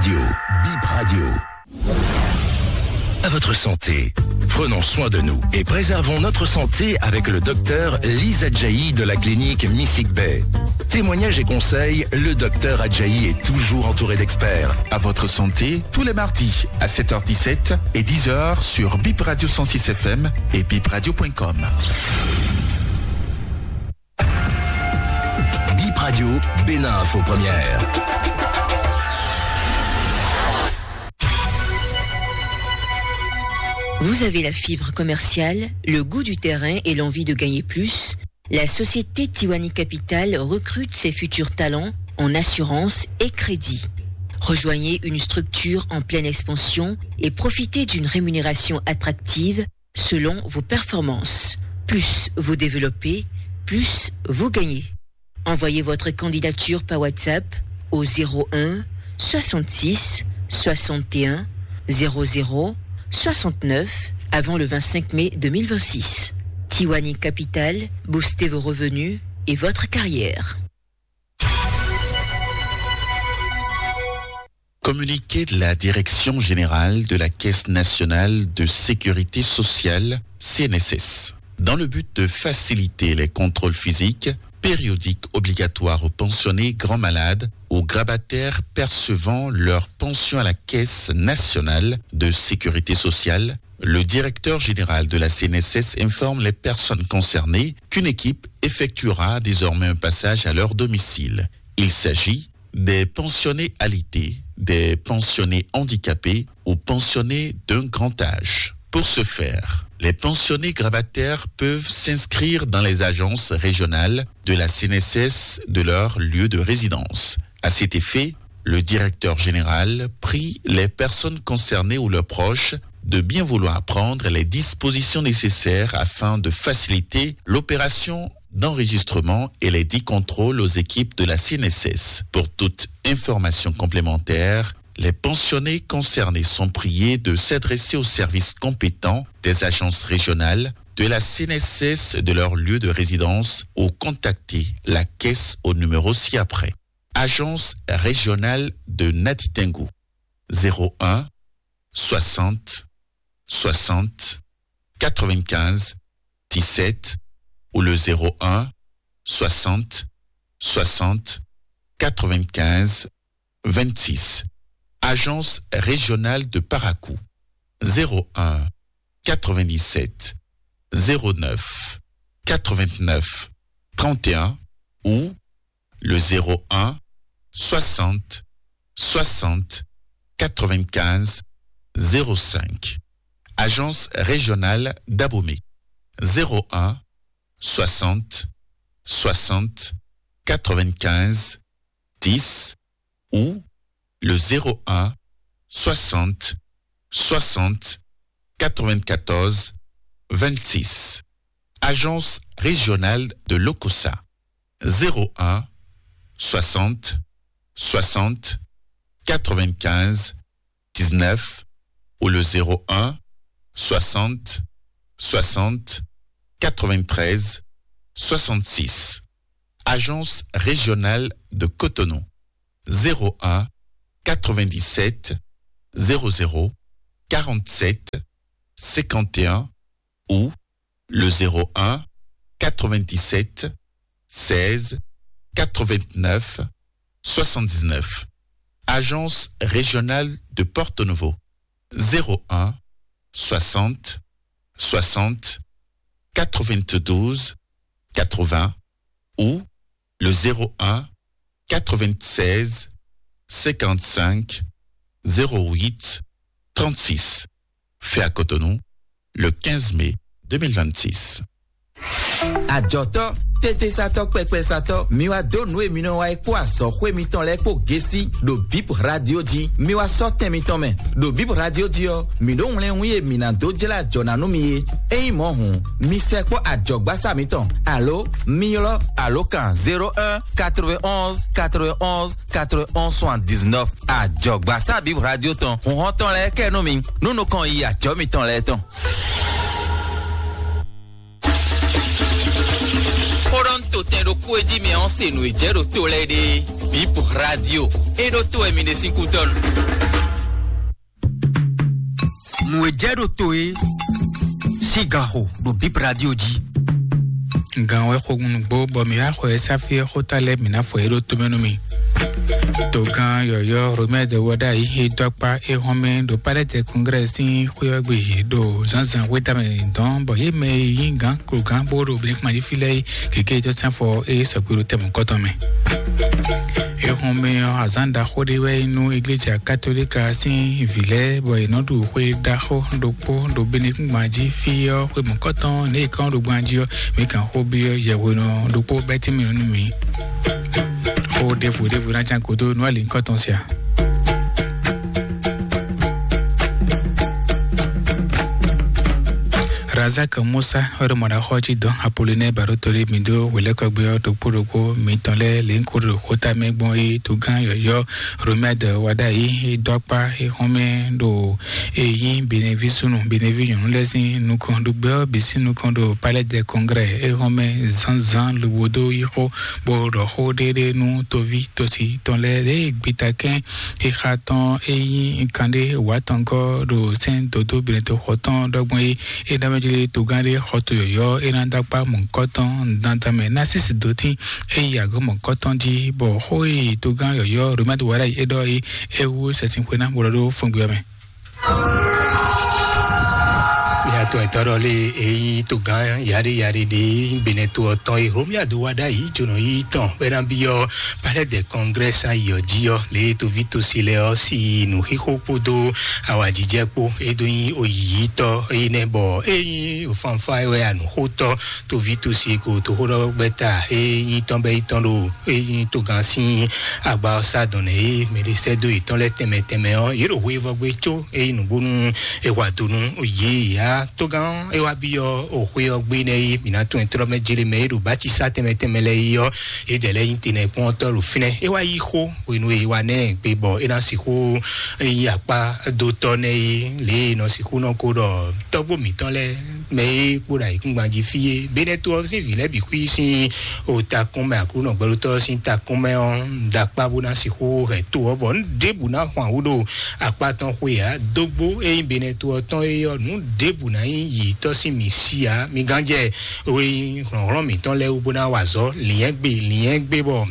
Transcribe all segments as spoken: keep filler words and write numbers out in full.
Radio, Bip Radio. À votre santé. Prenons soin de nous et préservons notre santé avec le docteur Lise Adjaï de la clinique Missig Bay. Témoignages et conseils, le docteur Adjaï est toujours entouré d'experts. À votre santé, tous les mardis à sept heures dix-sept et dix heures sur Bip Radio cent six F M et bip radio point com. Bip Radio, Bénin Info Première. Vous avez la fibre commerciale, le goût du terrain et l'envie de gagner plus ? La société Tiwani Capital recrute ses futurs talents en assurance et crédit. Rejoignez une structure en pleine expansion et profitez d'une rémunération attractive selon vos performances. Plus vous développez, plus vous gagnez. Envoyez votre candidature par WhatsApp au zéro un soixante-six soixante et un zéro zéro soixante-neuf avant le vingt-cinq mai deux mille vingt-six. Tiwani Capital, boostez vos revenus et votre carrière. Communiqué de la Direction générale de la Caisse nationale de sécurité sociale, C N S S. Dans le but de faciliter les contrôles physiques, périodiques obligatoires aux pensionnés grands malades, aux grabataires percevant leur pension à la Caisse nationale de sécurité sociale, le directeur général de la C N S S informe les personnes concernées qu'une équipe effectuera désormais un passage à leur domicile. Il s'agit des pensionnés alité, des pensionnés handicapés ou pensionnés d'un grand âge. Pour ce faire, les pensionnés grabataires peuvent s'inscrire dans les agences régionales de la C N S S de leur lieu de résidence. À cet effet, le directeur général prie les personnes concernées ou leurs proches de bien vouloir prendre les dispositions nécessaires afin de faciliter l'opération d'enregistrement et les dix contrôles aux équipes de la C N S S. Pour toute information complémentaire, les pensionnés concernés sont priés de s'adresser aux services compétents des agences régionales de la C N S S de leur lieu de résidence ou contacter la caisse au numéro ci-après. Agence régionale de Natitingou, zéro un soixante soixante quatre-vingt-quinze dix-sept ou le zéro un soixante soixante quatre-vingt-quinze vingt-six. Agence régionale de Parakou, zéro un quatre-vingt-dix-sept zéro neuf quatre-vingt-neuf trente et un ou le zéro un soixante soixante quatre-vingt-quinze zéro cinq. Agence régionale d'Abomey, zéro un soixante soixante quatre-vingt-quinze dix ou le zéro un soixante soixante quatre-vingt-quatorze vingt-six. Agence régionale de l'Okossa, zéro un soixante soixante quatre-vingt-quinze dix-neuf ou le zéro un soixante soixante quatre-vingt-treize soixante-six. Agence régionale de Cotonou, zéro un quatre-vingt-dix-sept zéro zéro quarante-sept cinquante et un ou le zéro un quatre-vingt-dix-sept seize quatre-vingt-neuf soixante-dix-neuf. Agence régionale de Porto Novo, zéro un soixante soixante quatre-vingt-douze quatre-vingts ou le zéro un quatre-vingt-seize cinquante-cinq zéro huit trente-six. Fait à Cotonou, le quinze mai deux mille vingt-six. Ajɔtɔ, tete satɔ, kpɛkpɛ satɔ, mi wa dó nǔ e mi nɔ wa é kpó azɔxwé mitɔn lɛ́ɛ kpó gesi ɖo Bip Radio jí. Mi wa sɔ́ tɛn mitɔn mɛ. Ɖo Bip Radio jí ɔ́, mi ɖó wlɛ́nwí e mi ná dó jlá jɔ ná nú mi é. Ényí mɔ̌ hǔn, mi sɛkpɔ́ ajɔ̌gbasá mitɔn, alo mi ylɔ́ alǒkan zéro un quatre-vingt-onze quatre-vingt-onze quatre-vingt-onze soixante-dix-neuf. Ajɔ̌gbasá Bip Radio tɔn, hǔnhɔ́n tɔn lɛ́ɛ kɛ nú mi, nú nukɔn yi ajɔ̌ mitɔn lɛ́ɛ tɔn. Xó ɖɔ un to tɛn ɖokpó e jí mi ɔ́ se nǔ e jɛ ɖo to lɛ́ɛ ɖe. Bip Radio. E ɖo to e mi ɖe sín kútɔ́nu. Nǔ e jɛ ɖo to e sín gaxo ɖo Bip Radio jí. Gan wɛ xo nugbo bɔ mi wá xɔ ɛ sáfí ɛ xóta lɛ mi ná fɔ é ɖo tomɛ nú mi. Togán yɔyɔ Romɛ de wɔ ɖa yi he dɔkpa e hɔn mɛ ɖo palɛ tɛ kongrɛ sín xwé ɔ́ gbe ɖo zǎnzǎn xwéta mɛ dɔn bɔ yé mɛ yi gán klo gán bó ɖo blikma yi fi lɛ yi. Keke jɔ sɛn fɔ e sɔgbe ɖo tɛmɛ kɔtɔn mɛ. Ehɔn mɛ ɔ́, azán ɖaxó ɖé wɛ nú igleja katolika sín vǐ lɛ́ɛ bɔ è nɔ ɖu xwe ɖaxó ɖokpó ɖo benekúngban jí fí ɔ́ xwe mɔ̌kɔtɔn nɛ è kɔn ɖo gban jí ɔ́. Mi kan xó byɔ́ yɛhwenɔ ɖokpó bɛ́ tɛ́nmɛ nú mi. Xó ɖěvo ɖěvo ná can kó dó nú alǐ kɔ́tɔn sia. Razak Musa wɛ ɖo mɔɖaxɔ jí dɔn Apolinɛ Barotoli mi dó hwelɛ́kɔgbé ɔ́ ɖokpó ɖokpó mitɔn lɛ́ɛ lě ń kó ɖo xóta mɛ gbɔn é togán yɔ̌yɔ́ Romɛd Wadayi é dó akpá é xɔ́mɛ ɖo é nyí Benevi súnnu Benevi nyɔ̌nu lɛ́ɛ sín nukɔn ɖo gbɛ ɔ́ bǐ sín nukɔn ɖo Palais des Congrès é xɔ́mɛ zǎnzǎn lobo dó yí xó bó ɖɔ xó ɖéɖé nú toví tosi tɔn lɛ́ɛ lě e gbitakɛ́n xixa tɔn e nyí kanɖé wǎtɔngɔ́ ɖo sɛ́n dodó blɛ́ntoxɔ tɔn ɖɔgbɔn é. É ná mɛ jlé togán ɖé xɔto yɔ̌yɔ́ é ná dó akpá mɔ̌kɔtɔn dandan mɛ ná sísì dó tín é yi agɔ̌ mɔ̌kɔtɔn jí, bɔ xó e togán yɔ̌yɔ́ Romɛ́d Warayi é ɖɔ é é wú sɛsìn xwe ná bó ɖɔ ɖó fɔngbe ɔ́ mɛ. Mia tɔn etɔ́ ɖɔ lé e nyí togán yaɖé yaɖé ɖé Benɛto ɔ́ tɔn e Romia do wa ɖ'ayǐ jonɔ yí tɔn bɔ é ná byɔ́ Palais des Congrès ayǐ ɔ́ jí ɔ́, lě e toví tosi lɛ́ɛ ɔ́ sí nǔxixo kpódó awǎjijɛ kpó. É dó nyí oyǐyítɔ́ énɛ́ bɔ é nyí fanfá wɛ anǔxótɔ́ toví tosi ko toxóɖɔgbɛ́ta é nyí tɔn bɛ́ yi tɔn ɖo é nyí togán sín agba ɔ́ sá dɔn nɛ é mɛ ɖé sɛ́ dó yětɔn lɛ́ɛ tɛnmɛ tɛnmɛ ɔ́, yě ɖo hweyivɔ́ gbé có é nyí nǔgbónú é wa do nú yě yá. Togán é wá byɔ́ o xwé ɔ́ gbé nɛ́ é mǐ ná tunwun ɛ tlɔ́ mɛ jlé mɛ é ɖo bácisá tɛnmɛ tɛnmɛ lɛ́ɛ yi ɔ́, é dɛ lɛ́ɛ nyí tenɛkpɔ́ntɔ́ ɖo fínɛ́. É wá yí xó hwenu e é wá nɛ́ gbe bɔ é ná sixú nyí akpá dó tɔ́ nɛ́ é lě e è nɔ sixú nɔ ko ɖɔ tɔ́gbó mǐtɔn lɛ́ɛ mɛ e kpo ɖo ayǐkúngban jí fí é. Benɛto ɔ́ sín vǐ lɛ́ɛ bǐ xwí sín o takún mɛ Aklúnɔ gbɛɖótɔ́ ɔ́ sín takún mɛ ɔ́ ɖo akpá bó ná sixú hɛn to ɔ́ bɔ nǔ ɖěbǔ ná hwan wú ɖo akpá tɔn xwe ǎ. Dógbó e nyí Benɛto ɔ́ tɔn é ɔ́, nǔ ɖěbǔ ná nyí yǐtɔ́ sín mǐ sí ǎ. Mi gán jɛ we nyí hlɔ̌nhlɔ́n mǐtɔn lɛ́ɛ wú bó ná wa azɔ̌ lǐnyɛ́gbe lǐnyɛ́gbe bɔ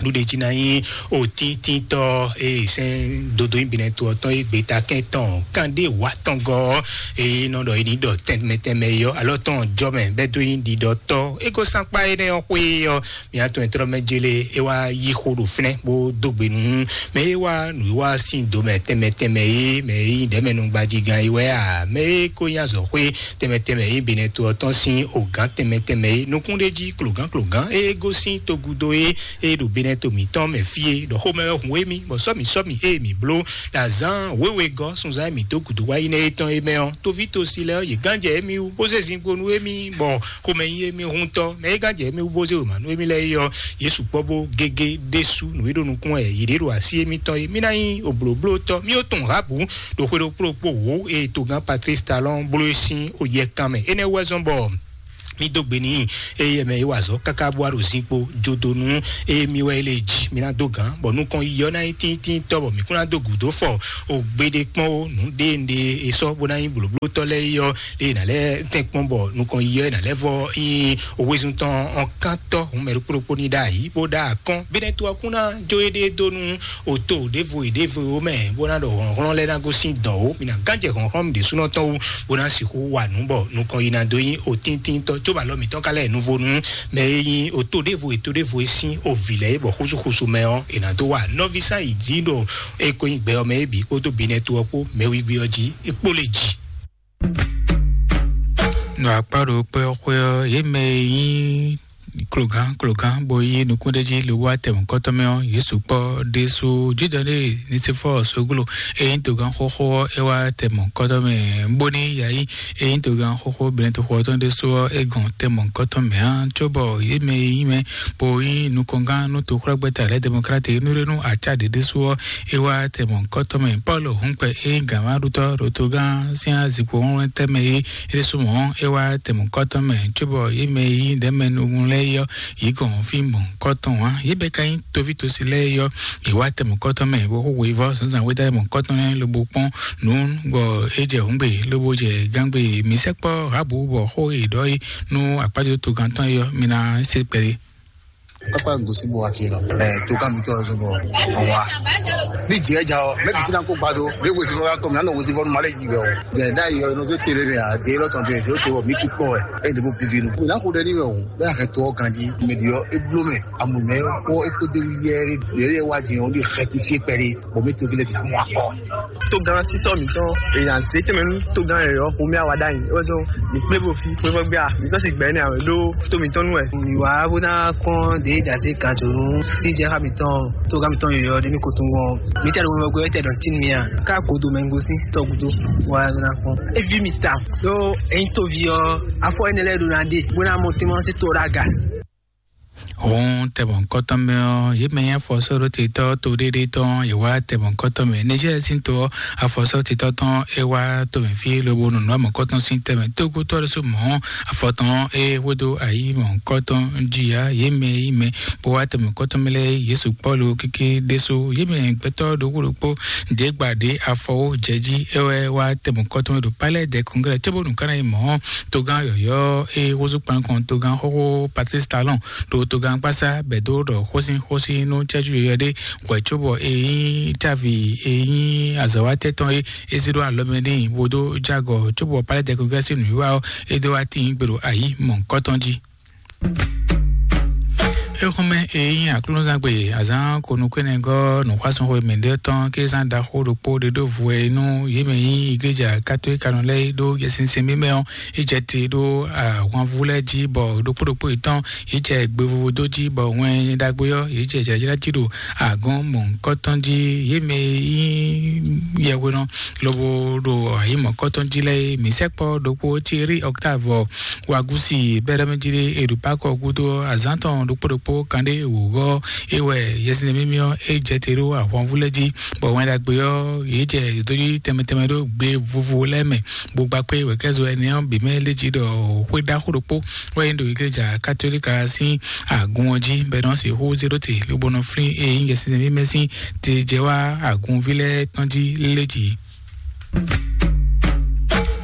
ɖuɖe jí ná nyí otíntítɔ́ e sɛ́n dodó nyi binɛ to ɔ́ tɔn e gbeta kɛn tɔn kanɖé wǎ tɔn gɔ́ ɔ́, e nɔ ɖɔ e ní ɖɔ tɛnmɛ tɛnmɛ e ɔ́ alɔ tɔn jɔ mɛ bɛ́ dó nyi ɖiɖɔtɔ́. É ko sán kpá énɛ́ ɔ́ xwé ɔ́, mǐ atɔn e tlɔ́ mɛ jélé é wá yí xó ɖo fínɛ́ bó dó gbe nú mɛ e wá nǔwiwa sín do mɛ tɛnmɛ tɛnmɛ e mɛ e nyí ɖɛ̌mɛnúgbajigán é wɛ a mɛ e ko nyí azɔ̌xwé tɛnmɛ tɛnmɛ e binɛ to ɔ́ tɔn sín ogǎn tɛnmɛ tɛnmɛ e nukún ɖé jí klogán klogán e gosín togudo e e ɖo Benɛto mǐtɔn mɛ fí e ɖɔ xomɛ wɛ hun émí bɔ sɔ́ mǐ sɔ́ mǐ ée mǐ bló ɖo azǎn wěwe gɔ́ sunzán e mǐ dó gǔdo wá yi nɛ́ é tɔn é mɛ ɔ́, toví tosi lɛ́ɛ ɔ́, yě gán jɛ émí wú bó zé zinkpo nú émí bɔ xomɛ nyí émí huntɔ́. Mɛ e gán jɛ émí wú bó zé wěma nú émí lɛ́ɛ é ɔ́, yě sukpɔ́ bó gégé ɖésú nǔ e ɖo nukún wɛ yě ɖe ɖo así émítɔn é. Mí ná nyí oblǒblótɔ́, mí ó tunwun Rabu ɖo xwe ɖokpó ɖokpó wǒ e togán Patlísi Talɔ́n bló é sín oyɛkan mɛ. Énɛ́ wú wɛ zɔ́n bɔ mí dó gbe n'i, eye mɛ yi wa azɔ̌ káká bó wá ɖo zinkpo jodonu, eye mi wɛ é lé jí mi ná dó gǎn, bɔ nukɔn yiyɔ ná nyí tíntíntɔ́, bɔ mǐ kún ná dó gǔdo fɔ o gbeɖé kpɔ́n ó nǔ ɖé ɖé e sɔ́ bó ná nyí blǒblótɔ́ lɛ́ɛ yi ɔ́, lě e nǎ lɛ́ tɛ́n kpɔ́n bɔ nukɔn yiyɔ e nǎ lɛ́ vɔ nyí owézun tɔn ɔ́ kántɔ́ hǔn mɛ ɖokpó ɖokpó ní ɖo ayǐ bó ɖó akɔ́n. Bínɛ́ to ɔ́ kún ná jó éɖée dó nú oto ɖěvo e ɖěvo mɛ bó ná ɖɔ hlɔ̌nhlɔ́n lɛ́ɛ ná gosín dɔ̌n ó. Mi ná gán jɛ hlɔ̌nhlɔ́n mi ɖésúnɔ tɔn wú bó ná sixú wa nǔ bɔ nukɔn yi ná dó nyí otíntintɔ́, cóbɔ alɔ mǐtɔn ka lɛ́ nuvo nú mɛ e nyí oto ɖěvo e to ɖěvo e sín ovǐ lɛ́ɛ é, bɔ xúsúxúsú mɛ ɔ́, è nǎ dó wa nɔví sán yi jí ɖo e ko nyí gbɛ ɔ́ mɛ é bǐ kpódó binɛ to ɔ́ kpó mɛwígbí ɔ́ jí é kpó lè jì. Nɔ akpá ɖo kpé ɔ́ xwé ɔ́, yě mɛ e nyí klogán klogán bó yí nukún ɖé jí lowó atɛmɔkɔ́tɔ́ mɛ ɔ́, Yesu kpɔ́ ɖésú Judɔ́ ɖé Nisifɔ́ɔ soglo e nyí togán xóxó ɔ́, é wá tɛmɔkɔ́tɔ́ mɛ bóní yayi e nyí togán xóxó Benɛtoxɔ tɔn ɖésú ɔ́, é gɔn tɛmɔkɔ́tɔ́ mɛ ǎ, cóbɔ yě mɛ e nyí mɛ bó nyí nukɔngán nú toxwlɛ́gbɛ́ta lɛ́ɛ Demɔklati nú ɖé nú acá ɖě ɖésú ɔ́, é wá tɛmɔkɔ́tɔ́ mɛ. Pɔ́lu hǔnkpɛ e nyí gǎnmɛɖutɔ́ ɖo togán sín azikpo wlɛ́ntɛ́ mɛ é ɖésú mɔ̌, é wá tɛmɔkɔ́tɔ́ mɛ, cóbɔ yě mɛ e nyí ɖɛ̌mɛnúnú lɛ́ɛ é yě gɔn fí mɔ̌hunkɔtɔn ǎ. Yě bɛ ka nyí toví tosi lɛ́ɛ yɔ, yě wá tɛ mɔ̌hunkɔtɔn mɛ bó xó wěvɔ́ zǎnzǎn wéda mɔ̌hunkɔtɔn lɛ́ɛ lobo kpɔ́n nǔ bɔ é jɛ hǔngbe lobo jɛ gángbe. Mǐ sɛkpɔ́ Rahabu bɔ xó e ɖɔ é nú akpájɔ togán tɔn é yɔ, mi ná se kpɛɖé. Papa gosi bɔ wa fi nɔ. Ɛ, to ka mi tɔ zɔ bɔ wa. Ni jɛ ja o, mɛ bisi na ko gbado. Mɛ gosi fɔ ka kɔ mi, anɔ gosi fɔ nu ma le ji bɛ o. Jɛ da yi o, no so tere mi a, de lɔ tɔn de se o te bɔ mi ku kpɔ wɛ. E de bo vivi nu. Mi na ko de ni wɛ o. Bɛ a kɛ to ganji. Mɛ di yɔ e blo mɛ. Amu mɛ ko e ko de wi yɛ, yɛ wa di o, di xɛti fi kpɛri. Bɔ mi to fi le bi amu akɔ. Togán sítɔ mǐtɔn èèyàn zé tɛnmɛ nú togán yɔyɔ́ xomɛ awa ɖ'ayǐ é wɛ zɔn mǐ kplé bo fi xwé vɔ gbé a mǐ sɔ́ si gbɛ̌ nɛ́ awě ɖó tó mǐtɔn nú wɛ. Mǐ wá bó ná kpɔ́n ɖě e ɖi azé gǎn jǒnú sí jɛ xá mǐtɔn togán mǐtɔn yɔyɔ́ ɖé ní ko tunwun ɔ́ mǐ tɛ ɖo wɛmɛ gbé tɛ ɖɔ tín mǐ a ká godo mɛ gosín sítɔ gúdo wá ná kpɔ́n. É ví mì ta ɖó é nyí tóví ɔ́ afɔ énɛ́ lɛ́ɛ ɖo ná ɖe bó ná mɔ tɛ́nmɔ sí to ɖó aga. Hɔn tɛmɔkɔtɔn mɛ ɔ́, yě mɛ nyí afɔsɔ́ɖótetɔ́ to ɖéɖé tɔn, yě wá tɛmɔkɔtɔn mɛ. Niger sín to ɔ́, afɔsɔ́ɖótetɔ́ tɔn é wá to mɛ fí lobo nɔnɔ mɔkɔtɔn sín tɛmɛ. Tógútɔ́ ɖésú mɔ̌ afɔ tɔn é hwedó ayǐ mɔkɔtɔn jí ya, yě mɛ yí mɛ bó wá tɛmɔkɔtɔn mɛ lɛ́ɛ Yesu Pɔ́lu kéké ɖésú. Yě mɛ gbɛtɔ́ ɖokpó ɖokpó ɖě gba ɖě afɔ wó jɛ jí é wɛ wá tɛmɔkɔtɔn mɛ ɖo palais des congrès cóbónú ká ná yi mɔ̌ togán yɔ̌yɔ́ é húzú kpankɔn togán xóxó Patrice Talon ɖo togán kpásá bɛ̌ dó ɖɔ xósin xósin nú cɛ́jú yɔ̌yɔ́ ɖé hwɛ̌ cóbɔ é nyí cávi é nyí azɔ̌wátɛ́ tɔn é é zé ɖó alɔ mɛ n'i bó dó jágɔ cóbɔ palais des congrès sín nǔwiwa ɔ́ é dó wá tíin gbe ɖo ayǐ mɔ̌hunkɔtɔn jí. Éxɔ́mɛ e nyí aklúnɔzán gbe azǎn ko nukúnɛgɔ́ nǔxwásɔ́n xwe mɛɖé tɔn kí zán ɖaxó ɖokpó ɖe ɖó vo wɛ nú yě mɛ nyí igleja katolíkanɔ lɛ́ɛ ɖó yɛsinsɛn mímɛ ɔ́, é jɛ te ɖó ahwanvú lɛ́ɛ jí bɔ ɖokpó ɖokpó yětɔn yě jɛ gbe vovo dó jí bɔ wɛn ɖagbe ɔ́ yě jɛ jlǎjlá jí ɖo agɔ̌n mɔ̌hunkɔtɔn jí. Yě mɛ nyí yɛhwenɔ lobo ɖo ayǐ mɔ̌hunkɔtɔn jí lɛ́ɛ é, mǐ sɛkpɔ́ ɖokpó Thierry Octave Wagusi bɛ́ɖɔ́mɛjí ɖé e ɖo Pakɔ gúdo azǎn tɔn ɖokpó ɖokpó kanɖé wǒ ɔ́, é wɛ yɛsinsɛn mímí ɔ́ é jɛ te ɖó ahwanvú lɛ́ɛ jí, bɔ wɛn ɖagbe ɔ́ yě jɛ dǒdójí tɛnmɛ tɛnmɛ ɖó gbe vovo lɛ́ɛ mɛ, bó gba kpé wɛ̌kɛ́zo ɛnɛ ɔ́ bǐ mɛ lé jí ɖɔ xwé ɖaxó ɖokpó wɛ nyí ɖo igleja katolíka sín agun ɔ́ jí bɔ é nɔ sixú zé ɖó te lobo nɔ flín e nyí yɛsinsɛn mímí sín te jɛ wá agunví lɛ́ɛ tɔn jí lé jí.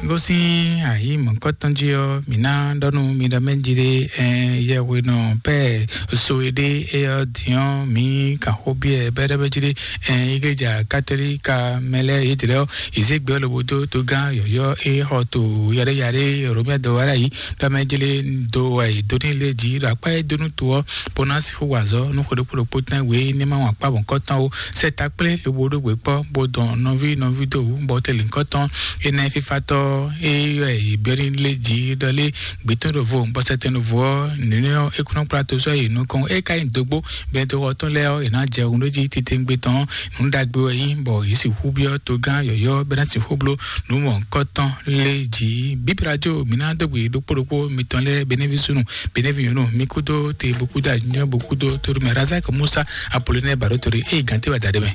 Gosín ayǐ mɔ̌kɔtɔn jí ɔ́, mǐ ná ɖɔ nú mi ɖɔ mɛ jí ɖé, ɛn, yɛhwenɔ pɛ́ so e ɖé é ɔ́ din ɔ́, mǐ kan xó byɔ́ ɛ bɛ́ɖɛ́ jí ɖé, ɛn, igleja katolíka mɛ lɛ́ɛ yědɛ́ ɔ́, yě zé gbɛ ɔ́ lobo dó togán yɔ̌yɔ́ e xɔ to yaɖéyaɖé Romɛ dɔwɛ́ɖá yìí ɖɔ mɛ jí lé do wɛ yě dó ní lé jí ɖo akpá e dó nú to ɔ́, bó ná sixú wa azɔ̌ nú xwe ɖokpó ɖokpó tɛn wě ní ma wɔn akpá mɔ̌kɔtɔn ó. Sɛ ta kplé lobo ɖó gbe kpɔ́, bó dɔn nɔví nɔví dó wǔ, bɔ tɛ́ lǐnkɔ́tɔn énɛ́ fífátɔ́ é yɔ è byɔ́ ní lé jǐ ɖɔ lé gbětɔ́ ɖo vo, bɔ sɛtɛn ɖo vo ɔ́, nǔnywɛ́ ɔ́, é kún nɔ kplá to sɔ́ yi nukɔn. É ka nyí dógbó, bɛn toxɔ tɔn lɛ́ɛ ɔ́, è nǎ jɛ hun ɖó jí titewungbe tɔn ɔ́, nǔ ɖagbe wɛ nyí, bɔ yě sixú byɔ́ togán yɔ̌yɔ́ bɛ́ ná sixú bló nǔ mɔ̌hunkɔtɔn lé jǐ. Bíbí radio mǐ ná dó gbe ɖokpó ɖokpó mitɔn lɛ́ɛ, Benevi súnnu, Benevi nyɔ̌nu, mi kúdó te bó kúdó anyɔ bó kúdó tóɖó mɛ Razak Musa Apolonɛ Baɖótɔ́ ɖé, eye gǎn té wɛ da ɖé mɛ.